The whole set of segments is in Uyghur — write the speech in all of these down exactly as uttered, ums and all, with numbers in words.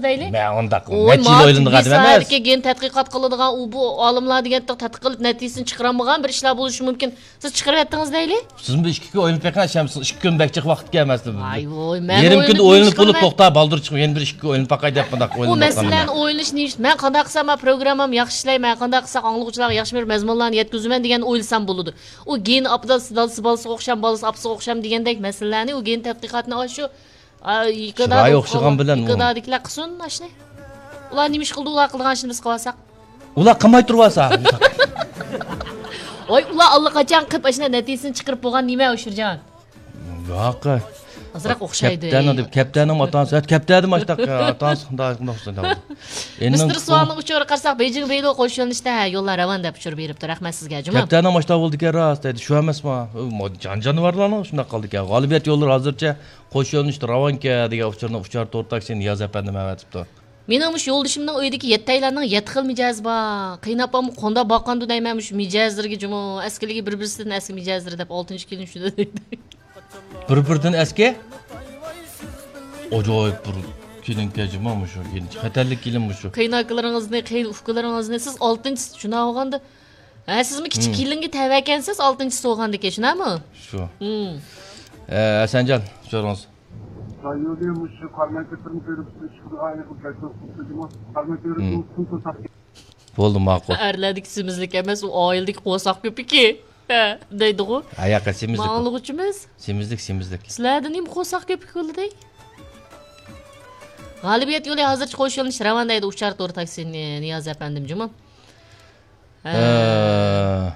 دەيلى. مەن ئۇنداق نەچچە يىل ئويلىنىدىغان ئادەم ئەمەس. گېن تەتقىقات قىلىدىغان، ئۇ بۇ ئالىملار دېگەن تەتقىقات قىلىپ نەتىجىسىنى چىقىرالمىغان بىر ئىشلار بولۇشى مۇمكىن. سىز چىقىرىۋەتتىڭىز دەيلى. سىزمۇ بىر ئىككى كۈن ئويلىنىپ بېقىڭ، ئەشەم، سىز ئىككى كۈن بەك جىق ۋاقىت ئىكەن ئەمەسمۇ. ۋاي ۋوي، مەن يېرىم كۈندە ئويلىنىپ بولۇپ، توختا، بالدۇر چىقىپ، يەنە بىر ئىككى كۈن ئويلىنىپ باقاي دەپ مۇنداق ئويلىنىپ. ئۇ مەسىلىلەرنى ئويلىنىش نېمە؟ مەن قانداق قىلسام، مەن پروگراممامنى ياخشى ئىشلەي، مەن قانداق قىلساق ئاڭلىغۇچىلارغا ياخشى بىر مەزمۇنلارنى يەتكۈزىمەن دېگەننى ئويلىسام بولىدۇ. ئۇ گېن ئاپىدا دادىسى بالىسىغا ئوخشام، بالىسى ئاپىسىغا ئوخشام دېگەندەك مەسىلىلەرنى، ئۇ گېن تەتقىقاتنى ئاشۇ، ئا، يېقىدا چىرايى ئوخشىغان بىلەن ئۇ. يېقىدادىكىلەر قىلسۇن ئاشۇنى. ئۇلار نېمە ئىش قىلدى، ئۇلار قىلىدىغان ئىشنى بىز قىلىۋالساق. ئۇلار قىلماي تۇرۇۋالسا. ۋاي، ئۇلار ئاللىقاچان قىلىپ ئاشۇنداق نەتىجىسىنى چىقىرىپ بولغان نېمە ئۇشۇرجان؟ ياق. ئازراق ئوخشايدۇ. كەپتەرنىڭ دەپ، كەپتەرنىڭ ئاتا ئانىسى، ھە، كەپتەر دېمە ئاشۇنداق، ئاتا ئانىسى شۇنداق، شۇنداق ئوخشايدۇ. مىستېر سۇۋالنىڭ ئۇچۇرىغا قارىساق، بېيجىڭ بېيلو قوش يۆنىلىشتە، ھە، يوللار راۋان دەپ ئۇچۇر بېرىپتۇ. رەھمەت سىزگە، جۇمۇ. كەپتەرنىڭ ماشتا بولىدىكەن راست دەيدۇ، شۇ ئەمەسمۇ؟ ئۇ مو-، جان جانىۋارلارنىڭ شۇنداق قالدىكەن. غالىبىيەت يوللىرى ھازىرچە قوش يۆنىلىشتە راۋانكەن دېگەن ئۇچۇرنى ئۇچار تور تاكسى نىياز ئەپەندىم ئەۋەتىپتۇ. مېنىڭ مۇشۇ يولدىشىمنىڭ ئۆيىدىكى يەتتەيلەننىڭ يەتتە خىل مىجەزى بار. قېيىنئاپاممۇ قانداق باققاندۇ دەيمەن مۇشۇ مىجەزلىرىگە جۇمۇ. ئەسكىلىكى بىر-بىرسىدىن ئەسكى مىجەزلىرى دەپ ئالتىنچى كېلىن شۇنداق دەيدۇ. بىر-بىرىدىن ئەسكى؟ ئاجايىپ بىر كېلىنكەن جۇمۇ مۇشۇ. خەتەرلىك كېلىن مۇشۇ. قېيىنئاكىلىرىڭىزنى، قېيىن ئۇكىلىرىڭىزنى سىز ئالتىنچى شۇنداق بولغاندا، ھە، سىزمۇ كىچىك كېلىنگە تەۋەكەنسىز، ئالتىنچى تۇغاندىكى، شۇنداقمۇ؟ شۇ. ھە، ھەسەنجان، سورىڭىز. رايونى مۇشۇ قاراماي كۆپۈرنى كۆرۈپ، ئۈچ خىل ئائىلە قىلىپ قاراماي كۆپۈرنى كىم توساق؟ بولدى، ماقۇل. ئەرلەردىكى سېمىزلىك ئەمەس، ئۇ ئائىلىدىكى قورساق كۆپۈكى. ھە، دەيدىغۇ. ھە، ياق، سېمىزلىك ئۇ. ماڭلىغۇچىمىز. سېمىزلىك، سېمىزلىك. سىلەردە نېمە قورساق كۆپۈكى بولدى؟ غالىبىيەت يولى ھازىرچە قوش يۆنىلىش راۋان دەيدۇ، ئۇچار تور تاكسى نى-، نىياز ئەپەندىم جۇمۇ. ھە. ھە.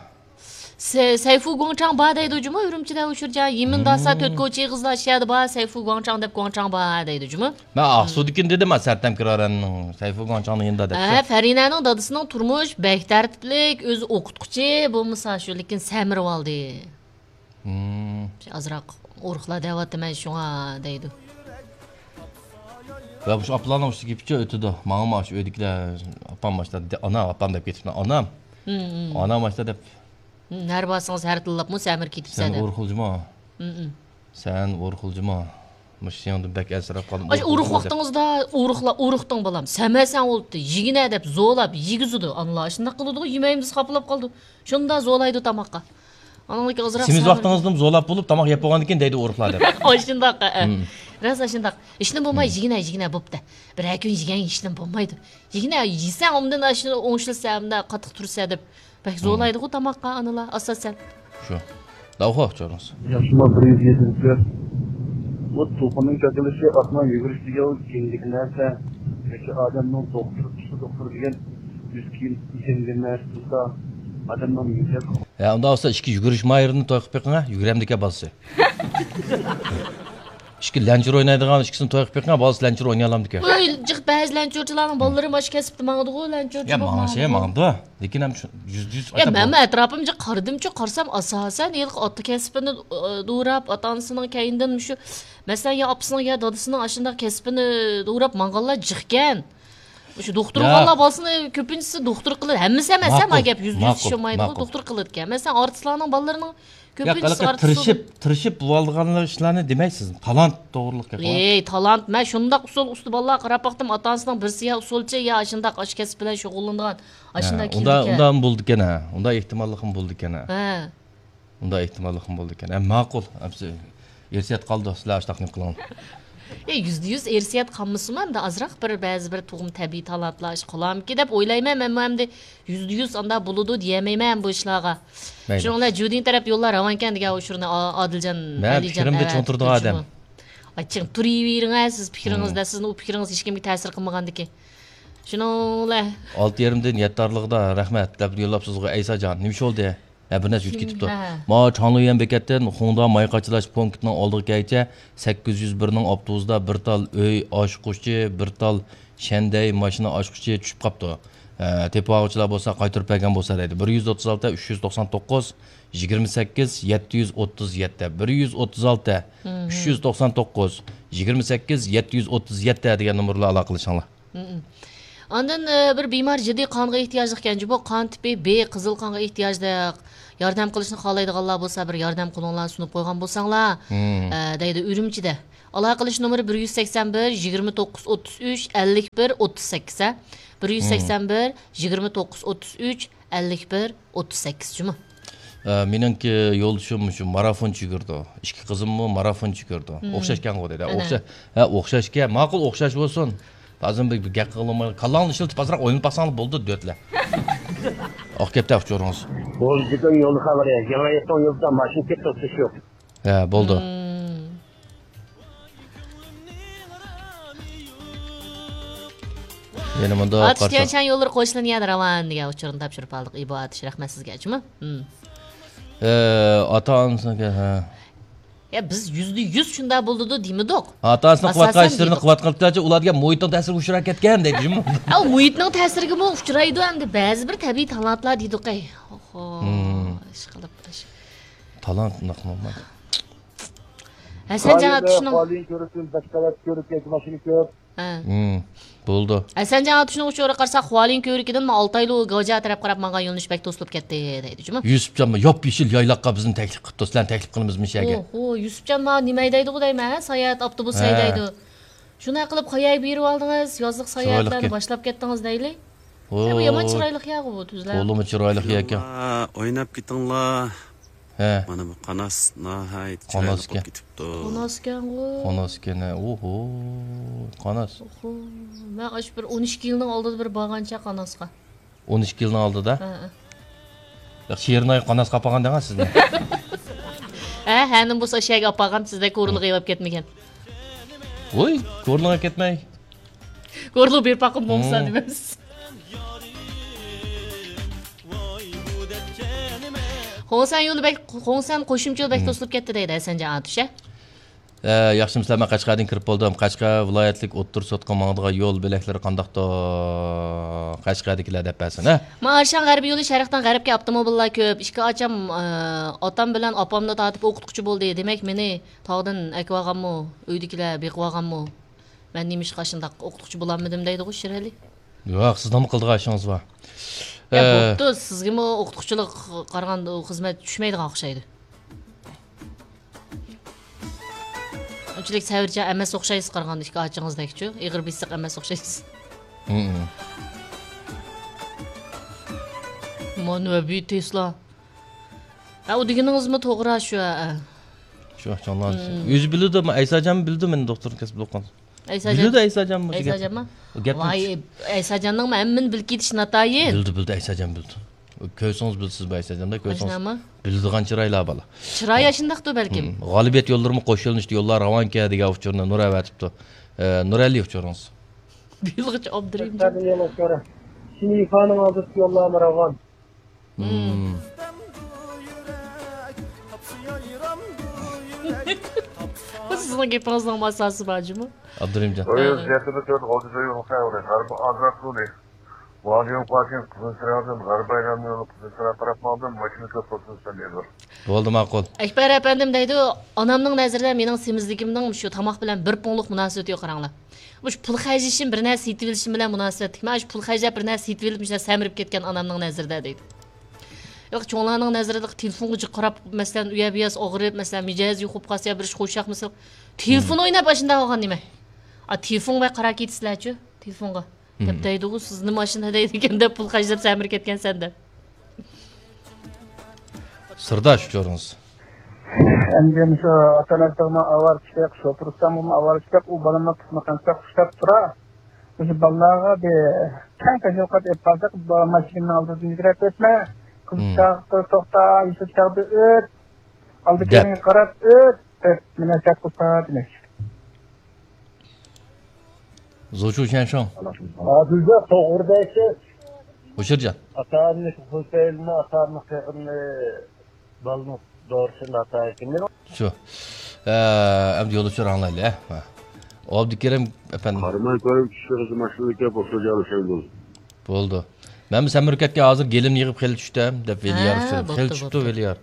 سەي-، سەيفۇ گۇاڭچاڭ بار دەيدۇ جۇمۇ، ئۈرۈمچىدە ئۇچۇرجان. يىمىن داسا تۆت كوچا ئېغىزلار شەدە بار، سەيفۇ گۇاڭچاڭ دەپ گۇاڭچاڭ بار دەيدۇ جۇمۇ. مەن ئاقسۇدىكىنى دېدىم، سەرتەم كىرارەننىڭ سەيفۇ گۇاڭچاڭنىڭ يېنىدا دەپتۇ. ھە، فەرىنەنىڭ دادىسىنىڭ تۇرمۇش بەك تەرتىپلىك، ئۆزى ئوقۇتقۇچى، بولمىسا شۇ، لېكىن سەمرىۋالدى. ئازراق ئورۇقلا دەۋاتىمەن شۇڭا دەيدۇ. ۋە مۇشۇ ئاپىلارنىڭ ئۈستىگە كېپىچە ئۆتىدۇ. ماڭىمۇ ئاشۇ ئۆيدىكىلەر، ئاپام ئاشتا، ئانا، ئاپام دەپ كېتىپتۇ. ئانام. ئانام ئاشتا دەپ. ھەر بارسىڭىز ھەر تىللاپمۇ سەمرىپ كېتىپسەن دەپ. سەن ئورۇقلىجىما. سەن ئورۇقلىجىما. مۇشۇ سېنىڭدىن بەك ئەنسىرەپ قالدىم. ئاشۇ ئورۇق ۋاقتىڭىزدا ئورۇقلا، ئورۇقتىڭ بالام. سەمەسەڭ بولۇپتۇ. يېگىنە دەپ زورلاپ يېگۈزىدۇ. ئانىلار ئاشۇنداق قىلىدىغۇ، يېمەيمىز دەپ خاپىلاپ قالىدۇ. شۇنداق زورلايدۇ تاماققا. ئانىڭدىكى ئازراق سېمىز ۋاقتىڭىزدىمۇ زورلاپ بولۇپ تاماق يەپ بولغاندىن كېيىن دەيدۇ ئورۇقلار دەپ. ئاشۇنداق، ئە. راست ئاشۇنداق. ھېچنېمە بولماي، يېگىنە، يېگىنە بوپتۇ. بىرەر كۈن يېگەن ھېچنېمە بولمايدۇ. يېگىنە يېسەڭ ئۇندىن ئاشۇ ئوڭشىلسا، ئۇنداق قاتتىق تۇرسا دەپ. بەك زورلايدىغۇ تاماققا ئانىلار ئاساسەن. شۇ. داۋخۇ چورۇڭ. ياخشىما بىر يۈز يېتىدە كۆر. بۇ توخۇنىڭ كاكىلىشى ئاتنىڭ يۈگۈرۈشى دېگەن كېيىندىكى نەرسە. ياكى ئادەمنىڭ دوختۇر، پسىخودوختۇر دېگەن يۈز كىيىم كىيگەن نەرسە تۇرسا، ئادەمنىڭ مىجەز. ھە، ئۇنداق بولسا ئىككى يۈگۈرۈش ماھىرىنى توي قىلىپ بېقىڭ ھە، يۈگۈرەمدىكەن بالىسى. ئىككى لەنچۈر ئوينايدىغان ئىككىسىنى توي قىلىپ بېقىڭ، بالىسى لەنچۈر ئوينىيالامدىكەن. ئۆي جىق بەزى لەنچۈرچىلارنىڭ بالىلىرى مانا شۇ كەسىپتە ماڭىدىغۇ، لەنچۈرچى يا، بولۇپ ماڭسا ماڭىدۇ. ماڭىدۇ. لېكىن ھەم شۇ يۈزدە يۈز يا، مەنمۇ ئەتراپىمغا قارىدىمچۇ، قارىسام، ئاساسەن، ھېلىقى ئاتا كەسپىنى، ئە، دوراپ، ئاتا-ئانىسىنىڭ كەينىدىن مۇشۇ، مەسىلەن، يا ئاپىسىنىڭ، يا دادىسىنىڭ ئاشۇنداق كەسپىنى دوراپ ماڭغانلار جىقكەن. مۇشۇ دوختۇر بولغانلار بالىسىنى كۆپىنچىسى دوختۇر قىلىدۇ. ھەممىسى ئەمەس، ھە، ما گەپ يۈزدە يۈز ئىشلىمايدىغۇ، دوختۇر قىلىدىكەن. مەسىلەن، ئارتىسلارنىڭ بالىلىرىنىڭ كۆپىنچىسى ئارتىس تىرىشىپ، تىرىشىپ بولىدىغان ئىشلارنى دېمەيسىز. تالانت توغرىلىق گەپ. ئەي، تالانت. مەن شۇنداق ئۇسسۇل ئۇستا بالىلارغا قاراپ باقتىم. ئاتا-ئانىسىنىڭ بىرسى يا ئۇسسۇلچى، يا ئاشۇنداق ئاشۇ كەسىپ بىلەن شۇغۇللىنىدىغان. ئاشۇنداق ئۇندا، كېلىدىكەن. ئۇندا بولىدىكەن ھە. ئۇندا ئېھتىماللىقىمۇ بولىدىكەن ھە. ھە. ئۇندا ئېھتىماللىقىمۇ بولىدىكەن. ھە، ماقۇل. ئەمسە ئىرسىيەت قالىدۇ، سىلەر ئاشتاق نېمە قىلىڭلار. يا، يۈزدە يۈز ئىرسىيەت قالمىسىمۇ، ئەمدى ئازراق بىر، بەزى بىر تۇغما تەبىئىي تالانتلار ئىش قىلارمىكىن دەپ ئويلايمەن. مەنمۇ ئەمدى يۈزدە يۈز ئانداق بولىدۇ دېيەلمەيمەن بۇ ئىشلارغا. مەيلى. شۇنىڭ بىلەن جۇدىن تەرەپ يوللار راۋانكەن دېگەن ئۇچۇرنى ئا-، ئادىلجان مەن ئەلىجان پىكرىمدە ئەۋەتىپتۇ چوڭ تۇرىدىغان ئادەم. جۇمۇ. ئاچچىق تۇرۇۋېرىڭ ھە، سىز پىكرىڭىزدە، سىزنىڭ ئۇ پىكرىڭىز ھېچكىمگە تەسىر قىلمىغاندىكىن. شۇنىڭ بىلەن. ئالتە يېرىمدىن يەتتە ئارىلىقىدا رەھمەت دەپ يوللاپ سىزغۇ ئەيساجان. نېمە ئىش بولدى؟ ھە، بىر نەرسە ئۆتۈپ كېتىپتۇ. ھە. ماۋۇ چاڭليۈەن بېكەتتىن خۇڭدا ماي قاچىلاش پونكىتىنىڭ ئالدىغا كەلگىچە سەككىز يۈز بىرنىڭ ئاپتوبۇسىدا بىر تال ئۆي ئاچقۇچى، بىر تال شەندەي ماشىنا ئاچقۇچى چۈشۈپ قاپتۇ. ھە، تېپىۋالغۇچىلار بولسا قايتۇرۇپ بەرگەن بولسا دەيدۇ. بىر يۈز ئوتتۇز ئالتە، ئۈچ يۈز توقسان توققۇز، يىگىرمە سەككىز، يەتتە يۈز ئوتتۇز يەتتە. بىر يۈز ئوتتۇز ئالتە، ئۈچ يۈز توقسان توققۇز، يىگىرمە سەككىز، يەتتە يۈز ئوتتۇز يەتتە دېگەن نومۇرلار ئالاقىلىشىڭلار. مم. ئاندىن، ئە، بىر بىمار جىددىي قانغا ئېھتىياجلىق ئىكەن، بۇ قان تىپى بى، قىزىل قانغا ئېھتىياجلىق. ياردەم قىلىشنى خالايدىغانلار بولسا، بىر ياردەم قولۇڭلارنى سۇنۇپ قويغان بولساڭلار، مم. ئە، دەيدۇ ئۈرۈمچىدە. ئالاقىلىشىش نومۇرى بىر يۈز سەكسەن بىر، يىگىرمە توققۇز، ئوتتۇز ئۈچ، ئەللىك بىر، ئوتتۇز سەككىز، ھە؟ بىر يۈز سەكسەن بىر، يىگىرمە توققۇز، ئوتتۇز ئۈچ، ئەللىك بىر، ئوتتۇز سەككىز جۇمۇ. ئە، مېنىڭكى يولدىشىم شۇ مارافونچە يۈگۈرىدۇ. ئىككى قىزىممۇ مارافونچە يۈگۈرىدۇ. مم. ئوخشاشكەنغۇ دېدى. ئەنە. ئوخشا-، ھە، ئوخشاشكەن. ماقۇل، ئوخشاش بولسۇن. لازىم بىر، بىر گەپ قىلماي، كاللاڭلارنى ئىشلىتىپ ئازراق ئويناپ باقساڭلار بولدى، دۆتلەر. ئاق كەپتە ئۇچۇرىڭىز. بولدى، بۈگۈن يولدا خەۋەر يا. يېڭى يېقىن يولدا ماشىنا كەتتى، توختىشى يوق. ھە، بولدى. مم. يەنە مۇنداق ئاتۇش قارىساق. تيەنشان يوللىرى قوشۇلىنى يەنە راۋان دېگەن ئۇچۇرنى تاپشۇرۇپ ئالدۇق. ئىبو ئاتۇش، رەھمەت سىزگە، جۇمۇ. مم. ئە، ئاتا-ئانىسىنىڭكى، ھە. يا، بىز يۈزدە يۈز شۇنداق بولىدۇ دېمىدۇق. ئاتا-ئانىسىنىڭ قىلىۋاتقان ئاساسەن ئىشلىرىنى دېدۇق. قىلىۋاتقان ئىقتىدارچە ئۇلار دېگەن مۇھىتنىڭ تەسىرىگە ئۇچراپ كەتكەن دەيدۇ، جۇمۇ. ئەو مۇھىتنىڭ تەسىرىگىمۇ ئۇچرايدۇ ئەمدى. بەزى بىر تەبىئىي تالانتلار دېدۇق، ئەي. ئوھو، مم. ئىشقىلىپ. تالانت ئۇنداق نورمال. ھەسەنجان ئاتۇشنىڭ، خۇالىيىن كۆرۈكتىن بەش قەۋەت كۆرۈك ياكى ماشىنا كۆپ. ھە. ھىم، بولدى. ھەسەنجان ئاتۇشنىڭ ئۇچۇرىغا قارىساق، خۇالىيىن كۆۋرۈكىدىن ئالتايلۇ گاۋجا تەرەپ قاراپ ماڭغان يۆنىلىش بەك توسۇلۇپ كەتتى، دەيدۇ، جۇمۇ. يۈسۈپجان، ياپيېشىل يايلاققا بىزنى تەكلىپ قىپتۇ، سىلەرنى تەكلىپ قىلىمىز مۇشۇ يەرگە. ئوھو، يۈسۈپجان، مانا نېمە ھەيدەيدىغۇ دەيمەن، ھە؟ ساياھەت ئاپتوبۇس ھە. ھەيدەيدۇ. شۇنداق قىلىپ قاياغا بېرىۋالدىڭىز؟ يازلىق ساياھەتلەرنى چىرايلىقكەن. باشلاپ كەتتىڭىز دەيلى. ھە، بۇ يامان ھوي. چىرايلىق يەرغۇ بۇ، تۈزلەپ. تولىمۇ چىرايلىق يەركەن. ئويناپ كېتىڭلار. ھە. مانا بۇ قاناس ناھايىتى چىرايلىق قاناسكەن. بولۇپ كېتىپتۇ. قاناسكەنغۇ. قاناسكەن، ھە. ئوھو، قاناس. ئوھو. مەن ئاشۇ بىر ئون ئىككى يىلنىڭ ئالدىدا بىر بارغانچە قاناسقا. ئون ئىككى يىلنىڭ ئالدىدا؟ ھە، ھە. ياق، شېرىناي قاناسقا ئاپارغان دەڭە سىزنى. ھە، ھەنىم بولسا ئاشۇ يەرگە ئاپارغان، سىزدەك كورلىغا ئېلىپ كەتمىگەن. ۋوي، كورلىغا كەتمەي. كورلىغا بېرىپ باققىن بولمىسا دېمەمسىز. خۇڭسەن يولى بەك، خۇڭسەن قوشۇمچە يول بەك توسۇلۇپ كەتتى دەيدۇ ھەسەنجان ئاتۇش، ھە؟ ئە، ياخشىمۇسىلەر؟ مەن قەشقەردىن كىرىپ بولدۇم. قەشقەر ۋىلايەتلىك ئوتتۇرا سوتقا ماڭىدىغان يول بۆلەكلىرى قانداقتۇ؟ قەشقەردىكىلەر دەپ بەرسۇن، ھە؟ ما ئارشان غەربىي يولى شەرقتىن غەربكە ئاپتوموبىللار كۆپ. ئىككى ئاچام، ئە، ئاتام بىلەن ئاپامنى تارتىپ ئوقۇتقۇچى بولدى. دېمەك، مېنى تاغدىن ئەكىۋالغانمۇ، ئۆيدىكىلەر بېقىۋالغانمۇ؟ مەن نېمىشقا شۇنداق ئوقۇتقۇچى بولالمىدىم دەيدىغۇ شىرئەلى. ياق، سىزنىڭمۇ قىلىدىغان ئىشىڭىز بار. يا، ئە، بوپتۇ، سىزگىمۇ ئوقۇتقۇچىلىق قارىغاندا ئۇ خىزمەت چۈشمەيدىغان ئوخشايدۇ. ئۇنچىلىك سەۋرچان ئەمەس ئوخشايسىز قارىغاندا، ئىككى ئاچىڭىزدەكچۇ، ئېغىر بېسىق ئەمەس ئوخشايسىز. ھىم. مانۇ بى تېسلا. ھە، ئۇ دېگىنىڭىزمۇ توغرا شۇ، ھە. شۇ، چوڭلار. ھىم. ئۆزى بىلىدۇ، ئەيساجانمۇ بىلىدۇ مېنىڭ دوختۇرنىڭ كەسىپلىك ئوقۇغان. ئەيساجان. بىلىدۇ ئەيساجانمۇ شۇ گەپنى. ئەيساجانمۇ؟ ئۇ گەپنى ۋاي، ئەيساجاننىڭمۇ ھەممىنى بىلىپ كېتىش ناتايىن. بىلدى، بىلدى، ئەيساجان بىلدى. كۆرسىڭىز بىلىسىز بۇ ئەيساجاندا، كۆرسىڭىز. ئاشۇنداقمۇ؟ بىلىدىغان چىرايلار بالا. چىرايى ئاشۇنداقتۇ بەلكىم. ھىم. غالىبىيەت يوللىرىمۇ قوش يۆنىلىشتە يوللار راۋانكەن دېگەن ئۇچۇرنى نۇر ئەۋەتىپتۇ. ئە، نۇرئەلى ئۇچۇرىڭىز. بىلغۇچى ئابدۇرېھىم. شىنىفانىڭ ئالدىدىكى يوللارمۇ راۋان. ھىم. بۇ سىزنىڭ گېپىڭىزنىڭ ئاساسى بار جۇمۇ. ئابدۇرېھىمجان. ھە. غەربىي ئازراق يولى. ۋالىيون قاسىم قىزىل چىراغدىن غەربىي ئايلانما يولى قىزىل چىراغ تەرەپ ماڭدىم، ماشىنا كۆپ بولسۇن سەن دېدى. بولدى، ماقۇل. ئەكبەر ئەپەندىم دەيدۇ، ئانامنىڭ نەزىرىدە مېنىڭ سېمىزلىكىمنىڭ شۇ تاماق بىلەن بىر پۇڭلۇق مۇناسىۋىتى يوق، قاراڭلار. مۇشۇ پۇل خەجلىشىم، بىر نەرسە سېتىۋېلىشىم بىلەن مۇناسىۋەتلىك. مەن شۇ پۇل خەجلەپ، بىر نەرسە سېتىۋېلىپ، مۇشۇنداق سەمرىپ كەتكەن ئانامنىڭ نەزىرىدە دەيدۇ. ياق، چوڭلارنىڭ نەزىرىدە تېلېفونغا جىق قاراپ، مەسىلەن، ئۇ يەر بۇ يەر ئاغرىپ، مەسىلەن، مىجەزى يوق بولۇپ قالسا يا بىر ئىش قوشاق، مەسىلەن، تېلېفون ئويناپ ئاشۇنداق بولغان نېمە؟ ئا، تېلېفونغا قاراپ كېتىسىلەرچۇ، تېلېفونغا. دەپ دەيدىغۇ، سىزنى ماشىنا ھەيدەيدىكەن دەپ پۇل خەجلەپ سەمرىپ كەتكەنسەن دەپ. سىرداش ئۇچۇرىڭىز. ئەمدى مۇشۇ ئاتا-ئانىسىغىمۇ ئاۋارە چىقىپ، شوپۇر ئۇستامغىمۇ ئاۋارە چىقىپ، ئۇ بالىنى قىسمىقانچىلىق خۇشلاپ تۇرا. مۇشۇ بالىلارغا بىر كەڭ تەشۋىقات ئېلىپ بارساق، بۇ ماشىنىنىڭ ئالدىدىن يۈگۈرۈپ ئۆتمە، قىزىل چىراغدا توختا، يېشىل چىراغدا ئۆت، ئالدى كەينىگە قاراپ ئۆت، دەپ مۇناسىۋەت قىلسا دېمەكچى. زوچۇ شەنشۇڭ. ھازىردا توغرىداكى ھۇشۇرجان. ئاتا-ئانىنى خۇسەيننى، ئاتا-ئانىنى قېغىننى، بالىنىڭ دورىسىنى ئاتا-ئانىنى. شۇ. ئە، ئەمدى يولدىشى ئاڭلايلى، ھە. ئابدۇكېرىم ئەپەندى. قارىماي كۆرۈپ چۈشتى قىزى ماشىنىدىكى بولسا جالىشاي بولدى. بولدى. مەنمۇ سەمرىپ كەتكەن، ھازىر گېلىمنى يىغىپ خېلى چۈشتۈم، دەپ ھە، ۋېلىيار. خېلى چۈشتى ۋېلىيار.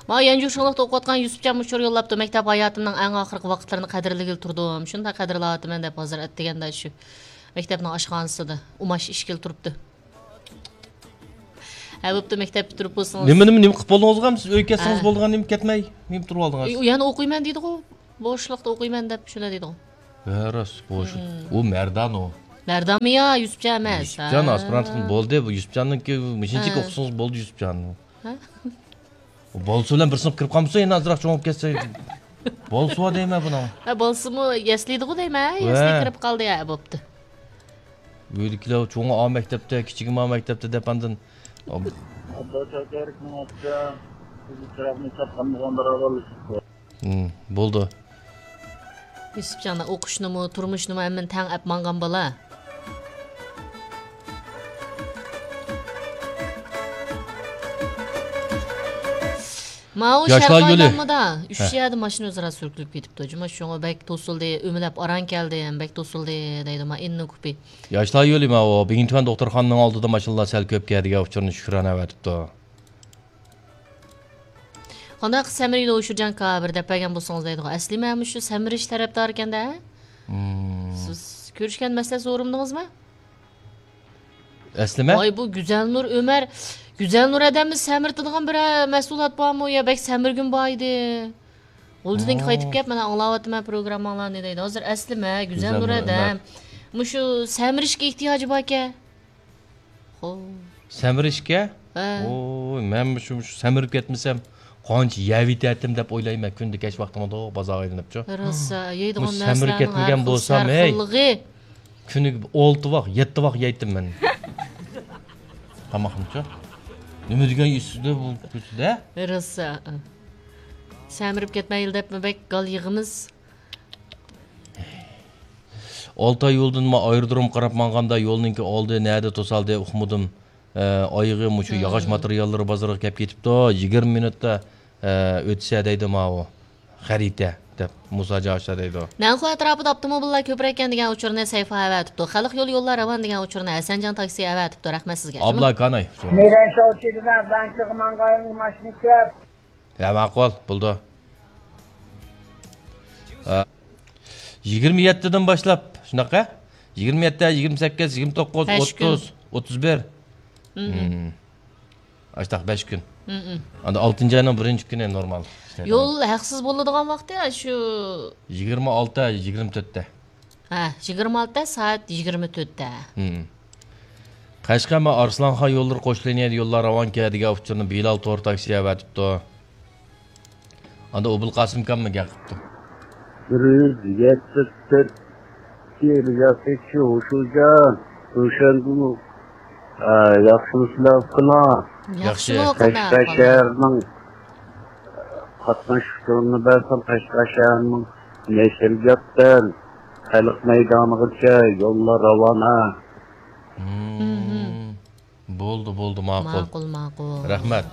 ماڭا يەنجۇ شۇڭلۇقتا ئوقۇۋاتقان يۈسۈپجان مۇشۇ يوللاپتۇ، مەكتەپ ھاياتىمنىڭ ئەڭ ئاخىرقى ۋاقىتلىرىنى قەدىرلىگىلى تۇردۇم. شۇنداق قەدىرلەۋاتىمەن دەپ ھازىر ئەتىگەندە شۇ. مەكتەپنىڭ ئاشخانىسىدا ئۇماش ئىشىكىدە تۇرۇپتۇ. ھە، بوپتۇ، مەكتەپ پۈتتۈرۈپ بولسىڭىز. نېمە، نېمە، نېمە قىلىپ بولدىڭىزغۇ؟ سىز ئۆيگە كەتسىڭىز ھە. بولىدىغان، نېمە كەتمەي، نېمە تۇرۇپ ئالدىڭىز؟ ئۇ يەنە ئوقۇيمەن دېدىغۇ. بوشلۇقتا ئوقۇيمەن دەپ شۇنداق دېدىغۇ. ھە، راست، بوشلۇق. ئۇ مەردان ئۇ. مەردانمۇ يا يۈسۈپجان ئەمەس؟ يۈسۈپجان ھە. ئاسپىرانتقىن بولدى، بۇ يۈسۈپجاننىڭكى مۇشۇنچىكى ھە. ئوقۇسىڭىز بولدى يۈسۈپجان. ھە؟ بالىسى بىلەن بىر سىنىپقا كىرىپ قالمىسا، يەنە ئازراق چوڭىيىپ كەتسە. بالىسى بار دەيمەن بۇنىڭ. ھە، بالىسىمۇ يەسلىدىغۇ دەيمەن، ھە، يەسلىگە ۋە. كىرىپ قالدى، ھە، بوپتۇ. ئۆيدىكىلەر چوڭى ئا مەكتەپتە، كىچىكىمۇ ئا مەكتەپتە دەپ ئاندىن. ئابدۇشاكىر، مېنىڭچە، بىز چىراغنى چاققان بولغان بىراۋال. ھىم، بولدى. يۈسۈپجان، ئوقۇشنىمۇ، تۇرمۇشنىمۇ ھەممىنى تەڭ ئەپ ماڭغان بالا. ماۋۇ ياشلار شەرقاي يولى. داممىدا ئۈچ ھە. يەردە ماشىنا ئۆزئارا سۈركىلىپ كېتىپتۇ. جۇما شۇڭا بەك توسۇلدى، ئۆمىلەپ ئاران كەلدىم، بەك توسۇلدى دەيدۇ، ما ئىننى كۇپى. ياشلار يولى ماۋۇ بىڭتۈەن دوختۇرخانىنىڭ ئالدىدا ماشىنىلار سەل كۆپ كەلدىگەن ئۇچۇرنى شۈكرانە ئەۋەتىپتۇ. قانداق سەمرىيدۇ ئۇشۇرجان كا، بىر دەپ بەرگەن بولسىڭىز دەيدىغۇ. ئەسلىمە مۇشۇ سەمرىش تەرەپدار ئىكەن-دە. ھىم. سىز كۆرۈشكەن مەسىلە سورىمىدىڭىزمۇ؟ ئەسلىمە؟ ۋاي، بۇ گۈزەلنۇر ئۆمەر، گۈزەلنۇر ئادەمنى سەمرىتىدىغان بىر مەھسۇلات بارمۇ؟ يا بەك سەمرىگۈن بار ئىدى. غۇلجىدىن ھا. قايتىپ كەپ، مانا ئاڭلاۋاتىمەن پروگرامماڭلارنى دەيدۇ. ھازىر ئەسلىمە، گۈزەلنۇر گۈزەلنۇر ئادەم. ئۆمەر. مۇشۇ سەمرىشكە ئېھتىياجى باركەن. خو. سەمرىشكە؟ ھە. ئوي، مەن مۇشۇ، مۇشۇ سەمرىپ كەتمىسەم، قانچە يەۋېتەتتىم دەپ ئويلايمەن كۈندە كەچ ۋاقتىمدا بازارغا ئايلىنىپچۇ. راست، يەيدىغان مۇشۇ سەمرىپ نەرسىلەرنىڭ كەتمىگەن ھەر خىل بولسام، ھەي، سەرخىللىقى. كۈنىگە ئالتە ۋاق، يەتتە ۋاق يەيتتىم مەن. تاماقنىچۇ. نېمە دېگەن ئىسسىدە بۇ كۆچىدە؟ راست. سەمرىپ كەتمەيلى دەپمۇ بەك گال يىغىمىز. ئالتاي يولدىن ما ئايرودرومغا قاراپ ماڭغاندا يولنىڭكى ئالدى نەدە توسالدى ئۇقمىدىم. ئە، ئايىغى مۇشۇ ھىم. ياغاچ ماتېرىياللىرى بازىرىغا كەپ كېتىپتۇ. يىگىرمە مىنۇتتا، ئە، ئۆتسە دەيدۇ ماۋۇ خەرىتە دەپ مۇساجان ئاشتا دەيدۇ. نەنخۇ ئەتراپىدا ئاپتوموبىللار كۆپرەككەن دېگەن ئۇچۇرنى سەيفا ئەۋەتىپتۇ. خەلق يولى يوللار راۋان دېگەن ئۇچۇرنى ھەسەنجان تاكسى ئەۋەتىپتۇ. رەھمەت سىزگە. ئابلا كاناي. مېرەن شاۋچىدىن بانكىغا ماڭغان ماشىنا كەپ. ھە، ماقۇل، بولدى. ھە. يىگىرمە يەتتىدىن باشلاپ، شۇنداق ھە؟ يىگىرمە يەتتە، يىگىرمە سەككىز، يىگىرمە توققۇز، بەش كۈن. ئوتتۇز، ئوتتۇز بىر. مم. مم. ئاشتاق بەش كۈن. مم. ئاندىن ئالتىنچى ئاينىڭ بىرىنچى كۈنى نورمال ئىشلەيدىغان. يول ھەقسىز بولىدىغان ۋاقتى شۇ. يىگىرمە ئالتە، يىگىرمە تۆتتە. ھە، يىگىرمە ئالتە سائەت يىگىرمە تۆتتە. ھىم. قەشقەر مەن ئارسلانخان يوللىرى قوش لىنىيەدە يوللار راۋانكەن دېگەن ئۇچۇرنى بىلال تور تاكسى ئەۋەتىپتۇ. ئاندا ئوبۇلقاسىم ئاكاممۇ گەپ قىپتۇ. بىر يۈز يەتتە تۆت رىياسەتچى ھوشۇجان، روشەنگۈل، ئە، ياخشىمۇسىلەر ئۇكىلار؟ ياخشى. ياخشىمۇ، قانداق قەشقەر ئەھۋاللار؟ شەھىرىنىڭ قاتناش ئۇچۇرىنى بەرسەم، قەشقەر شەھىرىنىڭ نەشرىياتتىن خەلق مەيدانىغىچە يوللار راۋانە. مم. مم. بولدى، بولدى، ماقۇل. ماقۇل، ماقۇل. رەھمەت.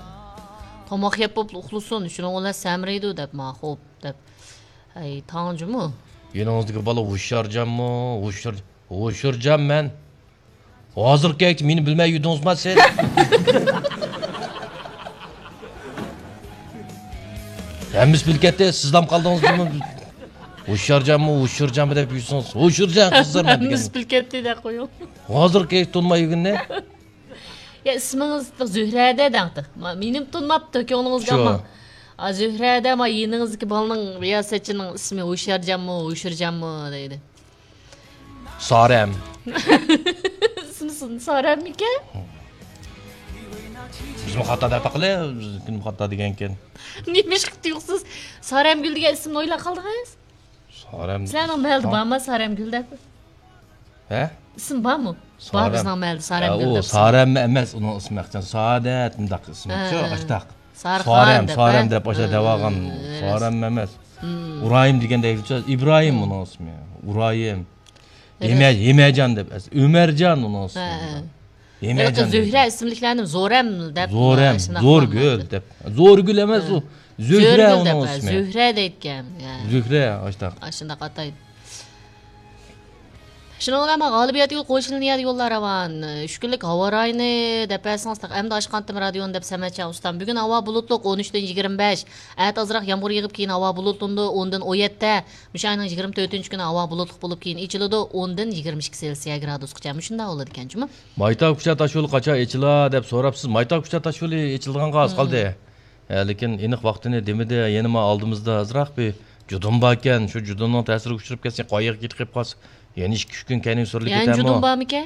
تاماق يەپ بوپلا ئۇخلىسۇن، شۇنىڭ بىلەن سەمرىيدۇ دەپ، ماقۇل دەپ. ئەي، تاڭ جۇمۇ. يېنىڭىزدىكى بالا ھوشيارجانمۇ؟ ھوشيار-، ھوشيارجان مەن. ھازىرقى كەيتى مېنى بىلمەي يۈردىڭىزما سىز؟ ھەممىسى بىلىپ كەتتى، سىزلام قالدىڭىز جۇمۇ. ھوشيارجانمۇ، ھوشيارجانمۇ دەپ يۈرسىڭىز. ھوشيارجان قىزلار مەن دېگەن. ھەممىسى بىلىپ كەتتى دەپ قويۇڭ. ھازىرقى كەيتى تونۇماي يۈرگىنىنى. يا، ئىسمىڭىز زۆھرەدە دەڭتى. ما-، مېنىمۇ تونۇماپتۇ، كۆڭلىڭىزگە شۇ. ئالماڭ. ئا، زۆھرەدە، ما، يېنىڭىزدىكى بالىنىڭ رىياسەتچىنىڭ ئىسمى ھوشيارجانمۇ، ھوشيارجانمۇ دەيدۇ. سارەم. ئىسمى سارەممىكەن؟ بىزمۇ خاتا دەپ باقىلى، بىزنىڭكىمۇ خاتا دېگەنكەن. نېمىشقا تۇيۇقسىز سارەمگۈل دېگەن ئىسىمنى ئويلاپ قالدىڭىز؟ سارەم. سىلەرنىڭ مەھەللىدە بارمۇ سارەمگۈل دەپ؟ ھە؟ ئىسىم بارمۇ؟ بار سارەم. بىزنىڭ مەھەللىدە سارەمگۈل ئۇ دەپ. سارەممۇ ئەمەس، ئۇنىڭ ئىسمى ئەخچان سادەت، مۇنداق ئىسمى. ھە، شۇ، ھە. ئاشتاق. سارخان سارەم، دەپ، سارەم ھە؟ دەپ ئاشتاق ھە، دەۋالغان. ھە، سارەممۇ ئەمەس. ھىم. ئۇرايىم دېگەندەك ئىبراھىم ھىم. ئۇنىڭ ئىسمى. ئۇرايىم. ھىمە-، ھىمەجان دەپ ئەس-، ئۆمەرجان ئۇنىڭ ئىسمى. ھە، ھە. ھېلىقى زۆھرە ئىسىملىكلەرنى زورەم دەپ، زورەم، ئە، شۇنداق زورگۈل دەپ. زورگۈل ئەمەس ئۇ. زۆھرە زۆرگۈل ئۇنىڭ دەپ، ئە، ئىسمى. زۆھرە دەيدىكەن. يا. زۆھرە، ئاشتاق. ئاشۇنداق ئاتايدۇ. شۇنىڭ بىلەن مانا غالىبىيەتكە قوشۇلىنىدىغان يوللار راۋان. ئۈچ كۈنلۈك ھاۋا رايىنى دەپ بەرسىڭىز، تېخى ئەمدى ئاچقانتىم رادىئونى دەپ سەمەت شاھ ئۇستام. بۈگۈن ھاۋا بۇلۇتلۇق، ئون ئۈچتىن يىگىرمە بەش. ئەتە ئازراق يامغۇر يېغىپ، كېيىن ھاۋا بۇلۇتلىنىدۇ، ئوندىن ئون يەتتە. مۇشۇ ئاينىڭ يىگىرمە تۆتىنچى كۈنى ھاۋا بۇلۇتلۇق بولۇپ، كېيىن ئېچىلىدۇ، ئوندىن يىگىرمە ئىككى سېلسىيە گرادۇسقىچە. مۇشۇنداق بولىدىكەن جۇمۇ. مايتاۋ كۇچا تاشيولى قاچان ئېچىلا دەپ سوراپسىز. مايتاۋ كۇچا تاشيولى ئېچىلىدىغانغا ئاز قالدى. ھە، لېكىن ئېنىق ۋاقتىنى دېمىدى. يەنە ما ئالدىمىزدا ئازراق بىر جۇدۇن باركەن. شۇ جۇدۇننىڭ تەسىرىگە ئۇچراپ كەتسە، قايىغا كېتىپ قېلىپ قالسا، يەنە ئىككى ئۈچ كۈن كەينىگە سۈرۈلۈپ يەنە كېتەرمۇ؟ جۇدۇن بارمىكەن؟